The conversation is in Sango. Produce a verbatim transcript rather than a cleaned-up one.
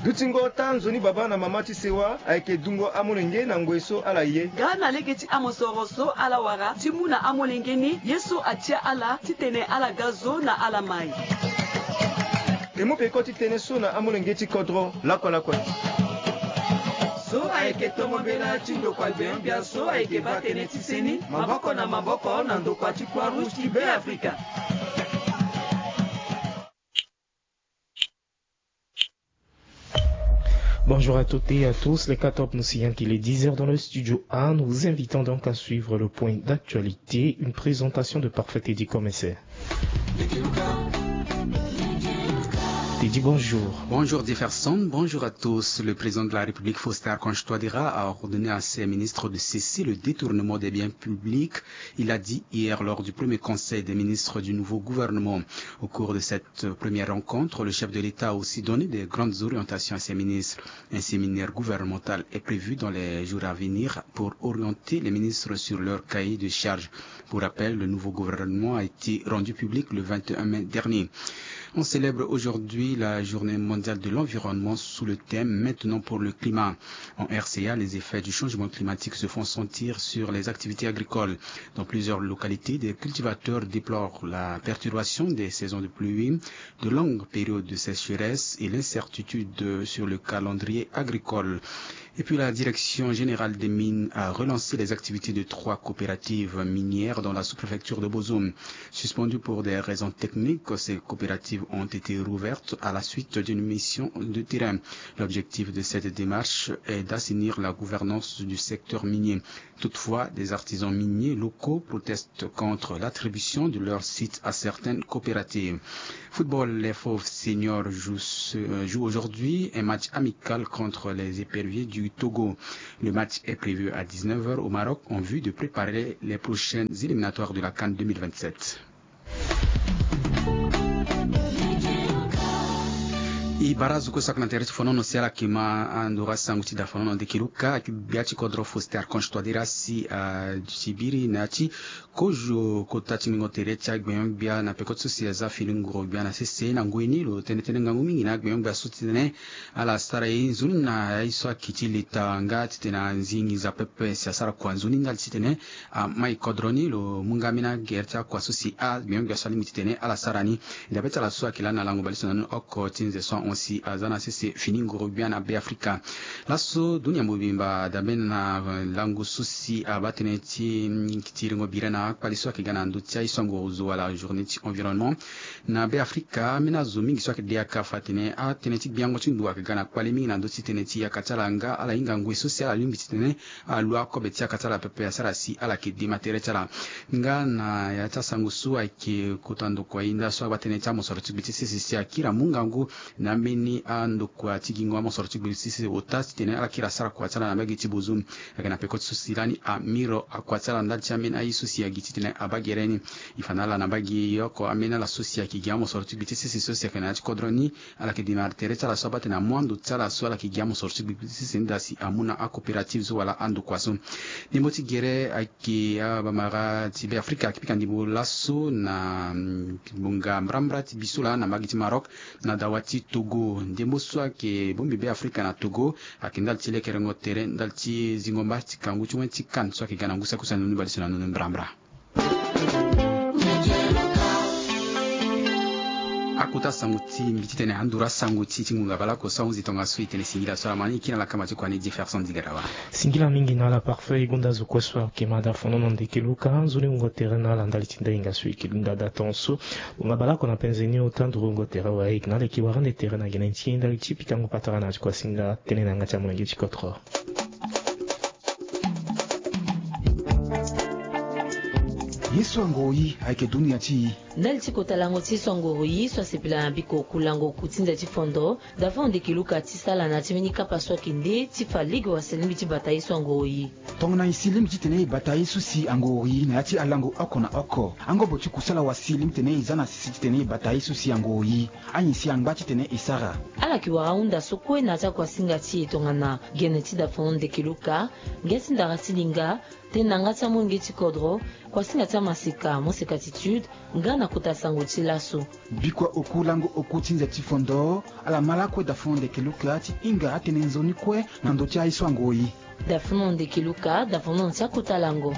Dutingo ota nzoni baba na mama ti sewa ayeke dungo amolenge na ngoi so ala ye. Nga na lege ti amosoro so ala wara ti mu na amolenge ni ye so atia ala titene ala ga zo na ala mai. E mu peko ti tënë so na amolenge ti kodro lakue lakue. So ayeke tongo mbela ti ndokua gbengbe so ayeke baa tënë ti seni maboko na maboko na ndokua ti Croix Rouge ti Beafrika. Bonjour à toutes et à tous, les quatre nous signalent qu'il est dix heures dans le studio A. Nous vous invitons donc à suivre le point d'actualité, une présentation de Parfait Teddy Commissaire. Teddy, bonjour. Bonjour Jefferson, bonjour à tous. Le président de la République, Faustin Archange Touadéra, a ordonné à ses ministres de cesser le détournement des biens publics. Il a dit hier lors du premier conseil des ministres du nouveau gouvernement. Au cours de cette première rencontre, le chef de l'État a aussi donné des grandes orientations à ses ministres. Un séminaire gouvernemental est prévu dans les jours à venir pour orienter les ministres sur leur cahier de charges. Pour rappel, le nouveau gouvernement a été rendu public le vingt et un mai dernier. On célèbre aujourd'hui la journée mondiale de l'environnement sous le thème Maintenant pour le climat. En R C A, les effets du changement climatique se font sentir sur les activités agricoles. Dans plusieurs localités, des cultivateurs déplorent la perturbation des saisons de pluie, de longues périodes de sécheresse et l'incertitude sur le calendrier agricole. Et puis la Direction générale des mines a relancé les activités de trois coopératives minières dans la sous-préfecture de Bozoum. Suspendues pour des raisons techniques, ces coopératives ont été rouvertes à la suite d'une mission de terrain. L'objectif de cette démarche est d'assainir la gouvernance du secteur minier. Toutefois, des artisans miniers locaux protestent contre l'attribution de leur site à certaines coopératives. Football, les Fauves Seniors jouent, ce- euh, jouent aujourd'hui un match amical contre les Éperviers du Togo. Le match est prévu à dix-neuf heures au Maroc en vue de préparer les prochaines éliminatoires de la CAN deux mille vingt-sept. E bara azo kue so ayeke na tere ti fonono si ala yeke ma andoro asango ti da fonono ndeke luka ayeke gbia ti kodro Faustin Archange Touadéra si asibiri na ya ti kozo kota ti ngingo tere ti agbenyo-gbia na peko ti so si aza fini nguru gbia na sese na ngoi ni lo tene tënë ngangu mingi na agbenyo-gbia so ti tene ala sara ye nzoni na aye so ayeke ti leta nga titene anzi nginza pepe si asara kua nzoni ndali titene amai kodro ni lo mu nga ambeni agere ti akua so si agbenyo-gbia so alingbi titene ala sara ni. Dabe ti ala so ayeke lani na lango bale ti so na ni oko ti nze so ahon si aza na sese fini nguru gbia na Beafrika. Laso dunia mobimba dabe na lango so si abaa tënë ti ti rengo bira na akpali so ayeke ga na ndö ti aye so angoro zo wala journée ti environnement. Na Beafrika ambeni azo mingi so ayeke de yaka fa atene atënë ti gbiango ti ndo ayeke ga na kpali mingi na ndö ti tënë ti yaka ti ala nga ala hinga ngoi so si ala lingbi titene alu akobe ti yaka ti ala pepe asara si ala yeke dema tere ti ala. Nga na ya ti asango so ayeke kota ndokua hinda so abaa tënë ti amosoro ti gbe ti sese si akiri amu ngangu na ambeni andokua ti gingo amosoro ti gbe ti sese ota titene ala kiri asara kua ti ala na mbage ti Bozoum. Ayeke na peko ti so si lani amiro akua ti ala ndali ti ambeni aye so si agi titene abaa gere ni. E fa na ala na mbage oko ambeni ala so si ayeke gi amosoro ti gbe ti sese so si ayeke na ya ti kodro ni. Ala yeke dema tere ti ala so abaa tene amu ando ti ala so ala yeke gi amosoro ti gbe ti sese ni daa si amu na acoopérative so wala andokua so. Ndembo ti gere ayeke abamara ti Beafrika ayeke pika ndembo laso na mm, ngbonga mbrambra ti biso laa na mbage ti Maroc na dawa ti Togo. Ndembo so ayeke bongbi Beafrika na Togo ayeke ndali ti lekerengo tere ndali ti zingo mba ti kangu ti wen ti CAN so ayeke ga na ngu saki use na ndoni bale so na ndoni mbrambra. Akota sango ti mbi titene anduru asango ti ti ngonga bale oko so ahunzi tongaso e tene singila so ala ma ni e kiri na lakamba ti kua ni Jefferson Digarawa. Singila mingi na ala Parfait. E gonda azo kue so ayeke ma da fonono ndeke luka nzoni wungo tere na ala ndali ti ndahinga so e yeke linda da tongaso so. Ngonga bale oko na penze ni ota nduru wungo tere wa e yeke na ala e yeke wara nde tere na gene ti e ndali ti pikango patara na ya ti kua singa tënë na yanga ti amolenge ti kodro. Ye so angoro yi ayeke dunia ti yi. Ndali ti kota lango ti ye so angoro yi so asepela na biko kulango ku ti nze ti fondo, Davon Ndeke Luka ti sala na ya ti mbeni kapa so ayeke nde ti fa lege wase lingbi ti bata ye so angoro yi. Tongana e si lingbi titene e bata ye so si angoro yi na ya ti alango oko na oko, angobo ti kusala wasi lingbi titene e za na sese titene e bata ye so si angoro yi. Anyen si angba titene e sara. Ala yeke wara ahunda so kue na ya ti akuasinga ti e tongana gene ti Davon Ndeke Luka, ngia ti ndara ti linga, Tene na nga ti amolenge ti kodro, kuasinga ti amaseka, moseka ti tude, nga na kota sango ti laso. Bikua oku lango oku ti nze ti fondo, ala ma lakue dafono ndeke luka ti hinga atene nzoni kue na ndo ti aye so angoi. Dafono ndeke luka, dafono ti akota lango.